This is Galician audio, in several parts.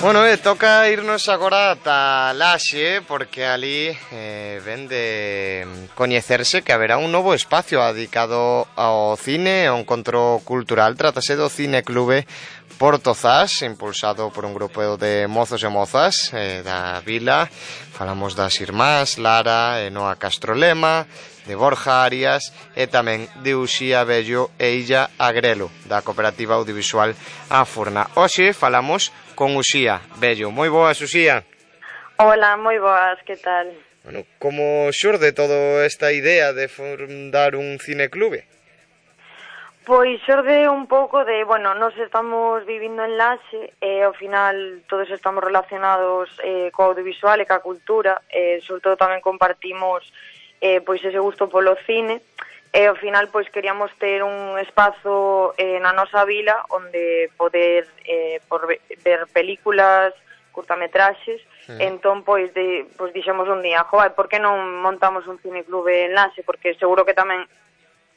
Bueno, toca irnos agora ata Laxe, porque ali ven de coñecerse que haberá un novo espacio dedicado ao cine, ao encontro cultural. Trátase do Cine Clube Portozás, impulsado por un grupo de mozos e mozas da vila. Falamos das irmás Lara e Noa Castrolema, de Borja Arias e tamén de Uxía Bello e Illa Agrelo, da Cooperativa Audiovisual A Furna. Hoxe falamos con Uxía Bello. Moi boas, Uxía. Hola, moi boas, que tal? Bueno, como xurde toda esta idea de fundar un cineclube? Pois xorde un pouco de, bueno, nos estamos vivindo en Laxe e ao final todos estamos relacionados co audiovisual e ca cultura, sobre todo tamén compartimos pois ese gusto polo cine e ao final pois queríamos ter un espazo na nosa vila onde poder ver películas, curtametraxes. Entón pois dixemos un día, joder, por que non montamos un cineclube en Laxe? Porque seguro que tamén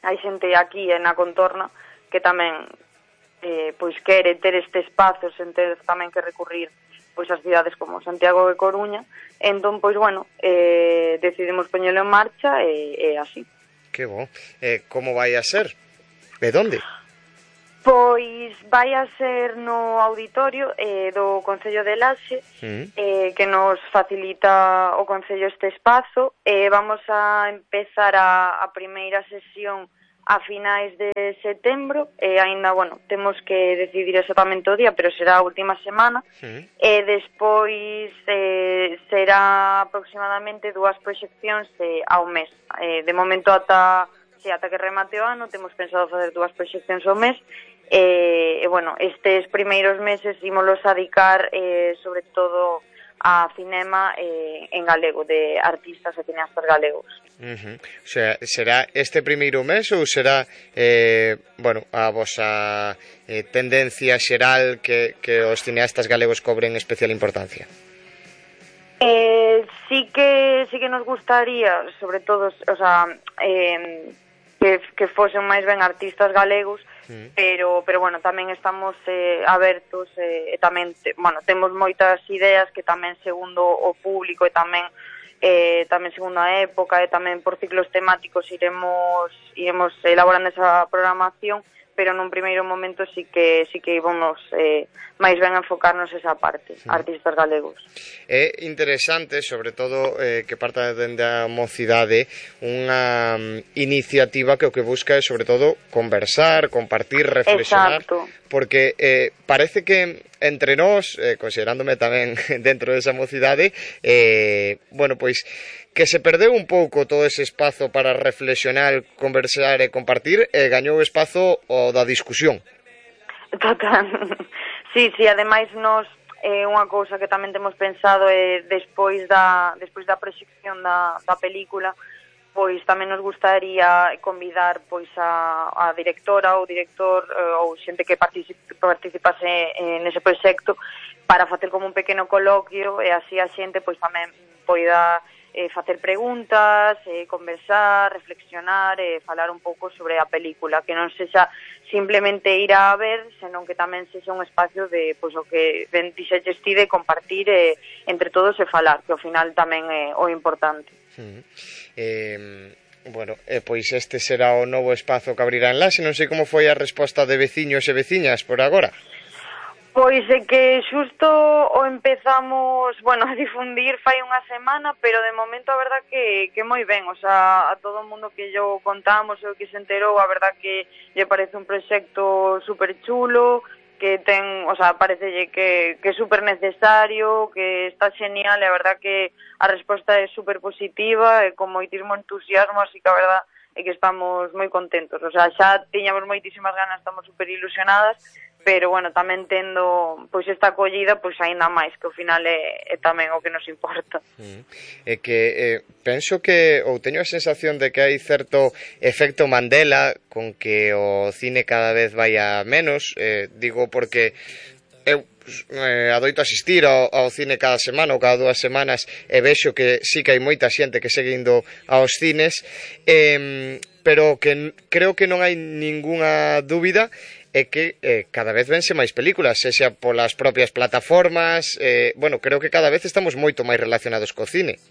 hai xente aquí na contorna que tamén pois quere ter este espazo sen ter tamén que recurrir pois as cidades como Santiago e Coruña. Entón, pois, bueno, decidimos poñelo en marcha e así. Que bo. Como vai a ser? De onde? Pois vai a ser no auditorio do Concello de Laxe, que nos facilita o Concello este espazo. Vamos a empezar a primeira sesión a finais de setembro, aínda, bueno, temos que decidir exactamente o día, pero será a última semana, e despois será aproximadamente 2 proxeccións ao mes. De momento ata que remate o ano temos pensado facer 2 proxeccións ao mes, e bueno, estes primeiros meses ímolos a dedicar sobre todo a cinema en galego, de artistas e cineastas galegos. O sea, será este primeiro mes ou será bueno, a vosa tendencia xeral que os cineastas galegos cobren especial importancia? Sí que nos gustaría, sobre todo, o sea, que fosen máis ben artistas galegos, pero bueno, tamén estamos abertos e tamén, bueno, temos moitas ideas que tamén segundo o público e tamén segundo a época e tamén por ciclos temáticos iremos elaborando esa programación, pero nun primeiro momento sí que vamos máis ben enfocarnos esa parte, artistas galegos. É interesante, sobre todo, que parta dende a mocidade unha iniciativa que o que busca é, sobre todo, conversar, compartir, reflexionar. Exacto. Porque parece que entre nós, considerándome tamén dentro desa mocidade, bueno, pois que se perdeu un pouco todo ese espazo para reflexionar, conversar e compartir, e gañou o espazo o da discusión. Total. Sí, ademais nos unha cousa que tamén temos pensado é despois da proxección da película, pois tamén nos gustaría convidar pois a directora ou director ou xente que participase nese proxecto para facer como un pequeno coloquio e así a xente pois tamén poida facer preguntas, conversar, reflexionar e falar un pouco sobre a película, que non sexa simplemente ir a ver, senón que tamén sexa un espacio de, pois, o que ben dixeches ti, de compartir entre todos e falar, que ao final tamén é o importante. Bueno, pois este será o novo espazo que abrirá en Laxe. Non sei como foi a resposta de veciños e veciñas por agora. Pois é que xusto o empezamos, bueno, a difundir fai unha semana, pero de momento a verdad que moi ben, o sea, a todo o mundo que yo contamos e o que se enterou, a verdad que lle parece un proxecto super chulo, que ten, o sea, parecelle que é super necesario, que está genial, e a verdad que a resposta é super positiva e con moitísimo entusiasmo, así que a verdad é que estamos moi contentos, o sea, xa tiñamos moitísimas ganas, estamos super ilusionadas, pero, bueno, tamén tendo pois esta acollida, pois aínda máis, que ao final é tamén o que nos importa. É que penso que, ou teño a sensación de que hai certo efecto Mandela con que o cine cada vez vai a menos, digo porque eu adoito asistir ao cine cada semana ou cada 2 semanas e vexo que sí que hai moita xente que segue indo aos cines, pero que creo que non hai ningunha dúbida é que cada vez vense máis películas, sexa polas propias plataformas, bueno, creo que cada vez estamos moito máis relacionados co cine.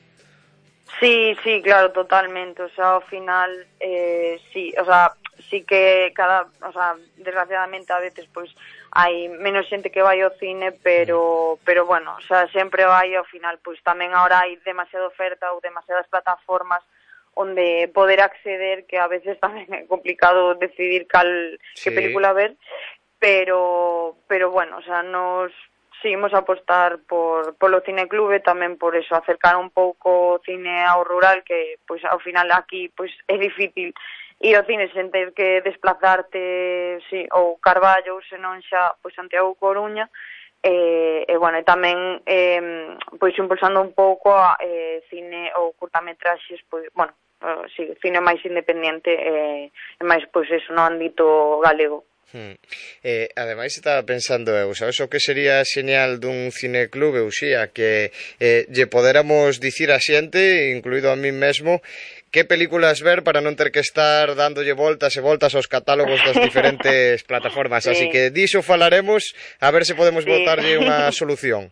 Sí, claro, totalmente, o sea, ao final, sí, o sea, sí que desgraciadamente a veces, pois, hai menos xente que vai ao cine, pero bueno, o sea, sempre vai ao final, pois tamén agora hai demasiada oferta ou demasiadas plataformas onde poder acceder, que a veces tamén é complicado decidir que película ver, pero bueno, o sea, nos seguimos a apostar polo cineclube, tamén por eso, acercar un pouco o cine ao rural, que pois ao final aquí pois é difícil ir ao cine sen ter que desplazarte, ou Carballo, ou senón xa pois Santiago Coruña, e bueno, e tamén pois impulsando un pouco cine ou curtametraxes, pois, bueno, cine máis independente e máis pois eso no ámbito galego. Ademais estaba pensando sabes o que sería señal dun cineclube, Uxía, que lle poderamos dicir a xente, incluído a mí mesmo, que películas ver para non ter que estar dándolle voltas e voltas aos catálogos das diferentes plataformas, así que diso falaremos, a ver se podemos botarlle unha solución.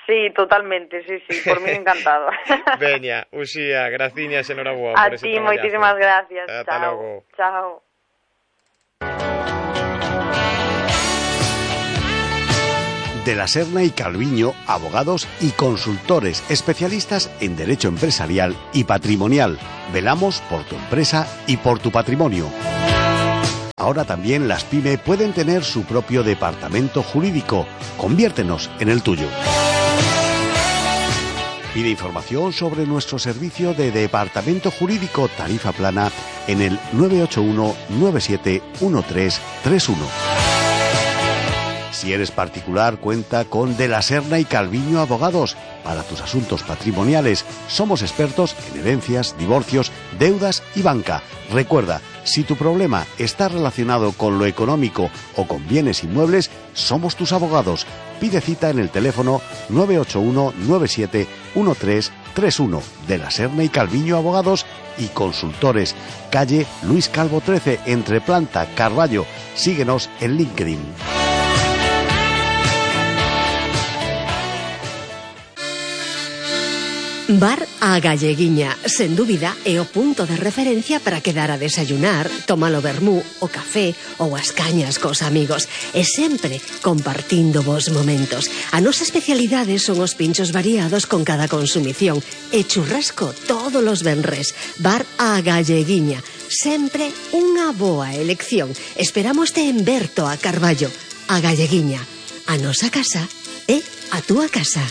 Sí, totalmente, sí, por mí encantado. Veña, Uxía, graciñas, enhoraboa por ese traballazo. A ti, moitísimas gracias. Ata logo. Chao. De la Serna y Calviño, abogados y consultores especialistas en derecho empresarial y patrimonial. Velamos por tu empresa y por tu patrimonio. Ahora también las PYME pueden tener su propio departamento jurídico. Conviértenos en el tuyo. Pide información sobre nuestro servicio de departamento jurídico tarifa plana en el 981 97 1331. Si eres particular, cuenta con De la Serna y Calviño Abogados. Para tus asuntos patrimoniales, somos expertos en herencias, divorcios, deudas y banca. Recuerda, si tu problema está relacionado con lo económico o con bienes inmuebles, somos tus abogados. Pide cita en el teléfono 981 97 1331. De la Serna y Calviño Abogados y Consultores. Calle Luis Calvo 13, entre Planta, Carballo. Síguenos en LinkedIn. Bar A Galleguiña, sen dúbida, é o punto de referencia para quedar a desayunar, tomar o vermú, o café ou as cañas cos amigos, e sempre compartindo vos momentos. A nosa especialidade son os pinchos variados con cada consumición e churrasco todos os venres. Bar A Galleguiña, sempre unha boa elección. Esperámoste en Berto, a Carballo. A Galleguiña, a nosa casa é a túa casa.